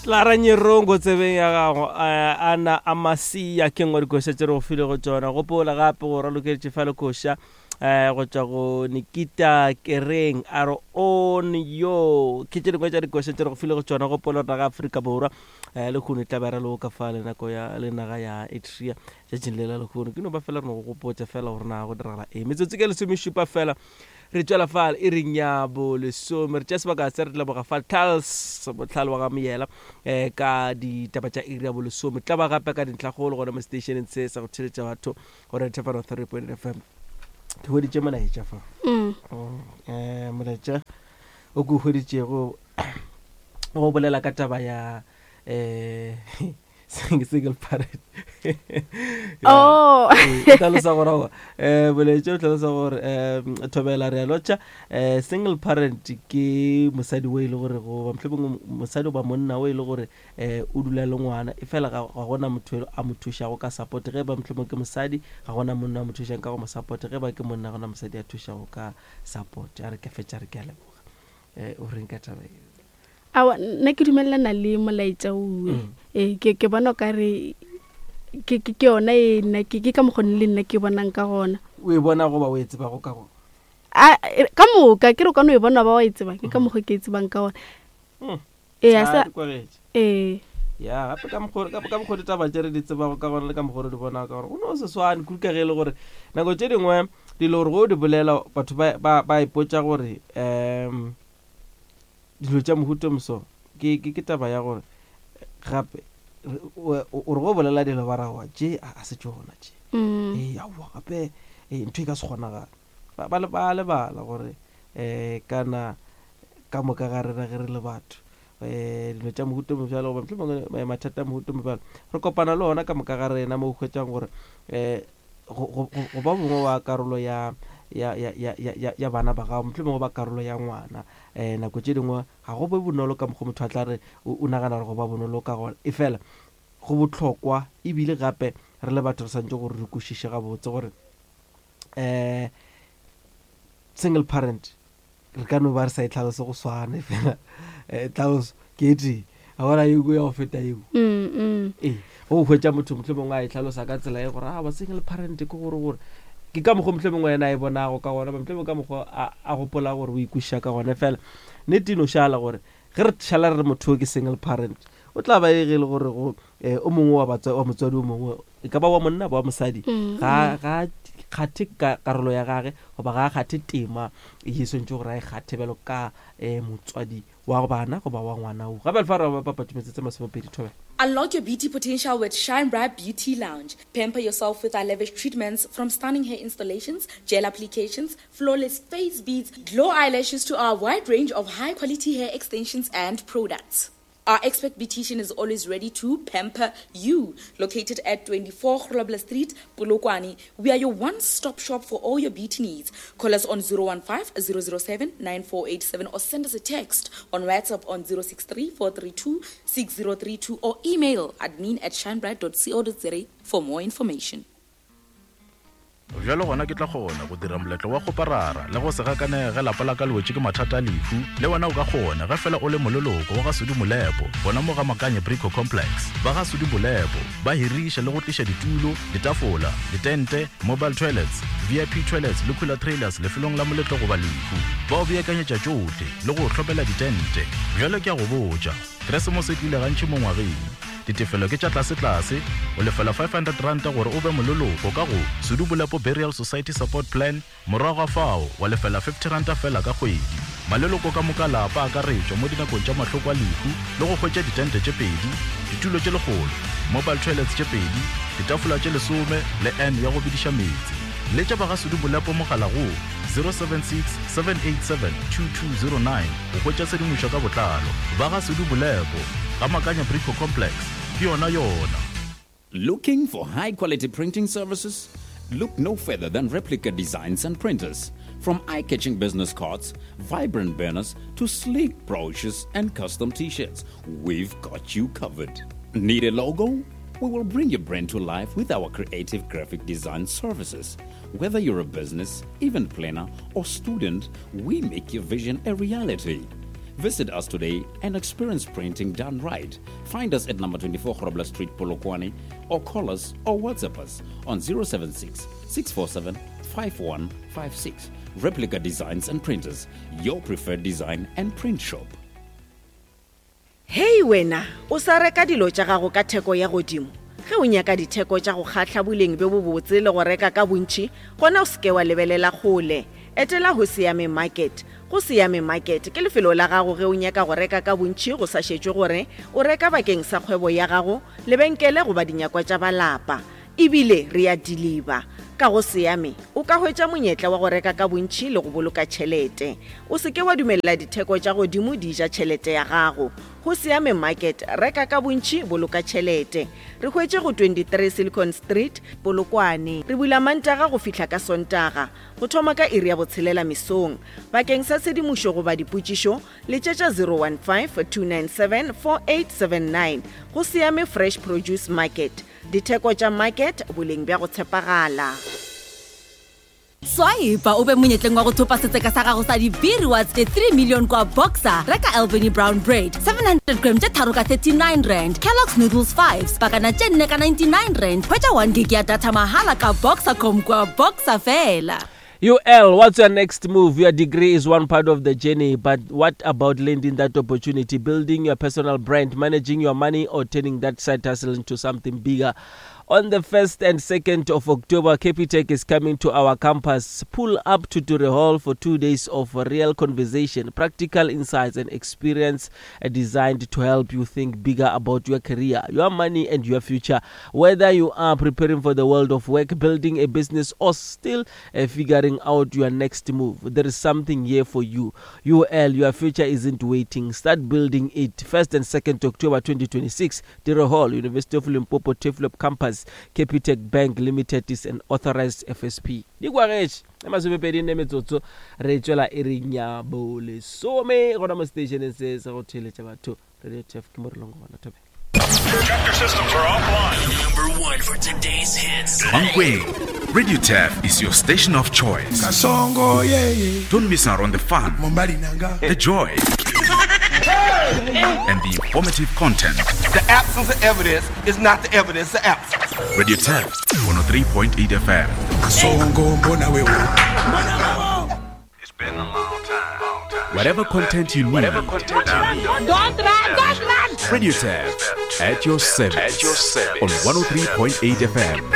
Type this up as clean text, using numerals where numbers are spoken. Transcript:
Lara Nyirongo tsebeng ya gago eh, ana a masia ke nngwe dikoša tše re go filego tšona gopola gape go ralokeletše fa lekoša um go tšwa go Nikita Kereng a re on yo ke tše dingwe tša dikoša tše re go filego tšona gopola naga Afrika Borwa um lehono e tla ba re loka fa le nako ya le naga ya Eritrea tšatšing le la lehono ke no ba fela re no go gopotša fela gore na go diragala eng metsotso ke lesomešupa fela Re tšwela fa iring ya bolesome, re tšea sebaka se re leboga fa Charles Botlhale wa ga Moyela um ka ditaba tša iri ya bolesome. Tla ba gape ka dintlhakgolo gona mo stationeng se sa go theletša batho gore Thefano 3.8 FM. Ke hweditše molaetša fa. Um molaetša o ke o hweditšego o bolela ka taba ya um single parent oh e tlhalosa gore um eh, boletše o tlhalosa gore um thobela re a lotšha um single parent ke mosadi o e le gore goba mohlomongwe mosadi goba monna o e le gore um o dula le ngwana e fela ga gona motho a mo thušago ka support ge ba mohlomongwe ke mosadi ga gona monna a mo thušang ka go mo support ge ba ke monna gona mosadi a thušago ka support a re ke fetša re ke a leboga um o reng ka taba e Aowa, nna ke dumelelana le molaetša owe. Mm. Ee, ke, ke bona o ka re ke, ke, ke yona e nna ke, ke ka mokgwa le nna ke bonang ka gona. O e bona goba o e tsebago ka gona? A, e, ka moka, ke re o ka no e bona ba wa e tseba, ke ka mm. mokgwa ke e tsebang ka gona. Mm. Ee, a sa, ee. Ya, gape ka mokgwa ka mokgwa ditaba tše re di tsebago ka gona le ka mokgwa re di bonago ka gona, go no se swane kudu ka ge e le gore nako tše dingwe dilo gore go di bolela batho ba, ba, ba ipotša gore um dilo tša mohuta o moso ke, ke, ke taba ya gore gape o re go bolela dilo ba ra wa tše a se tšona tše mm. ee aowa gape ee ntho e ka se kgonagale ba, ba, ba lebala gore um kana ka moka ga rena ge re le batho um dilo tša mohuta o mobjalo goba mohlomongwe mathata a mohuta o mobjalo re kopana le ona ka moka ga rena mo o hwetšang gore um go, go, go ba mongwe wa karolo ya, ya, ya, ya, ya, ya, ya bana ba gago, mohlomongwe ba karolo ya ngwana. Um nako tše dingwe ga go be bonolo ka mokgwa motho a tla re o, o nagana gore go ba bonolo ka gona. Efela go bohlokwa ebile gape re le batho re swanetše gore re kwešiše gabotse gore um single parent re ka no ba re sa e tlhalose go swana efela eh, tlhaloso ke e tee ga gona ye nngwe ya go feta eo mm, mm. ee go hwetša motho motlho mongwe a e tlhalosa ka tsela e gore a ba single parent ke gore gore ke ka mokgwa motlho mongwe ena a e bonago ka gona motlho mongwe ka mokgwa a gopola gore o ikwešiša ka gona fela nnete e no šala gore ge re šala re re motho o ke single parent o tla ba e ge e le gore go um o mongwe wa motswadi o mongwe e ka ba wa monna ba wa mosadi mm, ga mm. ga kgathe ka karolo ya gage goba ga a kgathe tema ye swantse gore a e kgathe bjalo ka um motswadi wa bana goba wa ngwana o gape lefa re ba papatso metsotso masomepedi thobela Unlock your beauty potential with Shine Bright Beauty Lounge. Pamper yourself with our lavish treatments from stunning hair installations, gel applications, flawless face beads, glow eyelashes to our wide range of high quality hair extensions and products. Our expert beautician is always ready to pamper you. Located at 24 Grobler Street, Polokwane, we are your one-stop shop for all your beauty needs. Call us on 015 007 9487 or send us a text on WhatsApp on 063 432 6032 or email admin at shinebright.co.za for more information. Bjalo gona ke tla kgona go dira moletlo wa kgoparara le go se gakanege ge lapa la ka le wetše ke mathata a lehu. Le wena o ka kgona ge fela o le moleloko wa ga Sudi Molepo gona mo ga Makanye Brico Complex. Ba ga Sudi Molepo ba hiriša le go tliša ditulo, ditafola, ditente, mobile toilets, VIP toilets le cooler trailers lefelong la moletlo goba lehu. Ba o beakanyetša tšohle le go o hlomela ditente. Bjalo ke a go botša, Keresemose e tlile gantši mo ngwageng. Ditefelo ke tša tlasetlase, o lefela R500 gore o be moleloko ka go Sudu Bolepo Burial Society Support Plan, morago ga fao wa lefela R50 feela ka kgwedi. Maleloko ka moka a lapa a akaretšwa mo dinakong tša mahloko a lehu le go hwetša ditente tše pedi, ditulo tše lekgolo, mobile toilets tše pedi, ditafola tše lesome le urn ya go bediša meetse. Letša ba ga Sudu Bolepo mogala go 076 787 2209 go hwetša tshedimošo ka botlalo. Ba ga Sudu Bolepo, ga Makanya Brico Complex, ke yona yona. Looking for high quality printing services? Look no further than Replica Designs and Printers. From eye catching business cards, vibrant banners, to sleek brochures and custom t shirts, we've got you covered. Need a logo? We will bring your brand to life with our creative graphic design services. Whether you're a business, event planner, or student, we make your vision a reality. Visit us today and experience printing done right. Find us at number 24 Grobler Street, Polokwane, or call us or WhatsApp us on 076 647 5156. Replica Designs and Printers, your preferred design and print shop. Hei wena, o sa reka dilo tša gago ka theko ya godimo? Ge o nyaka ditheko tša go kgahla, boleng bjo bobotse le go reka ka bontši, gona o se ke wa lebelela kgole. Etela Hosiame Market. Go Siame Market ke lefelo la gago ge o nyaka go reka ka bontši go sa šetšwe gore o reka bakeng sa kgwebo ya gago, lebenkele goba dinyakwa tša ba lapa. E bile re a diliba. Ka go Siame, o ka hwetša monyetla wa go reka ka bontši le go boloka tšhelete. O se ke wa dumelela ditheko tša godimo di ja tšhelete ya gago. Go Siame Market, reka ka bontši, boloka tšhelete. Re hwetše go 23 Silicon Street, Polokwane. Re bula Mantaga go fihla ka Sontaga, go thoma ka iri ya botshelela mesong. Bakeng sa tshedimošo goba dipotšišo, letšetša 015 297 4879. Go Siame Fresh Produce Market. Ditheko tša market, boleng bja go tshepagala. Swipa o be monyetleng wa go thopa setseka sa gago sa di-B-rewards tše 3 million kwa Boxer. Reka Albany Brown Bread 700 gram tše tharo ka 39 rand, Kellogg's Noodles 5 pakana tše nne ka 99 rand. Hwetša 1 gig ya data mahala ka Boxercom kwa Boxer fela. UL, what's your next move? Your degree is one part of the journey, but what about landing that opportunity, building your personal brand, managing your money, or turning that side hustle into something bigger? On the 1st and 2nd of October, Capitec is coming to our campus. Pull up to Dure Hall for two days of real conversation, practical insights, and experience designed to help you think bigger about your career, your money, and your future. Whether you are preparing for the world of work, building a business, or still uh, figuring out your next move, there is something here for you. UL, your future isn't waiting. Start building it. 1st and 2nd October 2026, Dure Hall, University of Limpopo, Turfloop Campus, Capitec Bank Limited is an authorized FSP. Di kwagetše e masomepedi nne metsotso re tšwela e reng ya bolesome gona mo stationeng se sa go theeletša batho radio tf ke mo re leng gona thobela Chapter systems are offline. Number one for today's hits. Mankweng, Radio Tef is your station of choice. Kasongo, yeah, yeah. Don't miss out on the fun, the joy, and the informative content. The absence of evidence is not the evidence of absence. Radio Tef, 103.8 FM. Kasongo, mbona wewe. Whatever content you need, Don't run, don't run! Radio Tef at your service. At your service. On 103.8 FM.